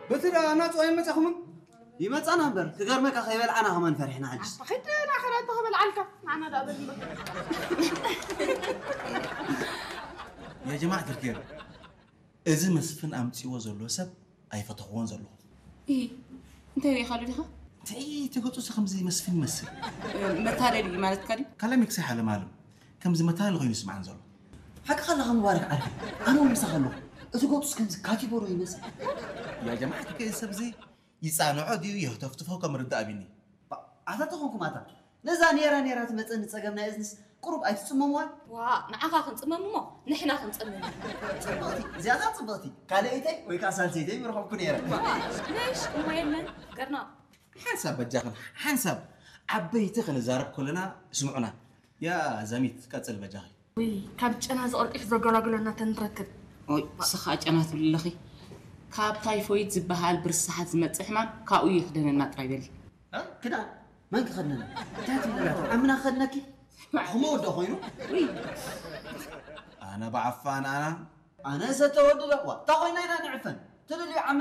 በቲ ደኣ ናጹ ኣይመጻኹምን? ይመጻና እምበር፣ ክገርመካ ከይበልዓና ከማን ፈሪሕና ሕጅስ። ኣታ ኸይድ ናኸዳ እንተ ኸበልዓልካ፣ ንዓና ደኣ በል እምበር። ያ ጀማዓ ትርኬር፣ እዚ መስፍን ኣምጺዎ ዘሎ ሰብ ኣይፈተኽዎን ዘለኹ። ኢ እንታይ ሪኢኻሉ ዲኻ? እንታይ እቲ ገጹ ከምዚ መስፍን ይመስል? መታለሊ እዩ ማለትካ ድዩ? ካላሚክሳይ ሓለማለም ከምዚ መታለሊ ኮይኑ ይስምዓን ዘሎ። ሓቅኻ ኣለኻ ሙባረክ ዓርኪ፣ ኣነ እውን ምሳኻ ኣለኹ። እቲ ገጹስ ከምዚ ካቲጎሮ ይመስል። ያ ጀማዓ እቲ ከ ሰብዚ ይጻንዖ ድዩ የህተፍትፎ ከም ርዳእ ኣቢኒ። ኣታ ተኾንኩም ኣታ ነዛ ኔራ ኔራ ትመጸኒ ጸገም ናይ እዝንስ ቁሩብ ኣይትጽመምዋን? ዋ ንዓኻ ክንጽመም እሞ ንሕና ክንጽመም። ጽብቕቲ እዚኣታ ጽብቕቲ ካልኣይተይ ወይ ከዓ ሳልሰይተይ ምረኸብኩ ነይረ። ነሽ እሞ የለን ገርና። ሓንሳብ በጃኽን ሓንሳብ ዓበይቲ ክንዛረብ ከለና ስምዑና። ያ ዛሚት ቀጽል በጃኺ። ውይ ካብ ጨና ዝቐልጢፍ ዘገላግለና ተንረክብ። ኦይ ንስኻ ጨና ትብሊ ኣለኺ። ካብ ታይፎይድ ዝበሃል ብርስሓት ዝመጽእ ሕማም ካብኡ ይኽደነና ጥራይ በሊ። እ? ክዳን መን ክኸድነኒ? እንታይ ትብለላ? ዓምና ክኸድነኪ? ዓኹሞ ወዶ ኮይኑ? ውይ ኣነ ብዓፋን ኣና ኣነ ሰተ ወዲ ዶ? ዋ፣ እንታይ ኮይና ኢና ንዕፈን? ትልልዩ ዓምና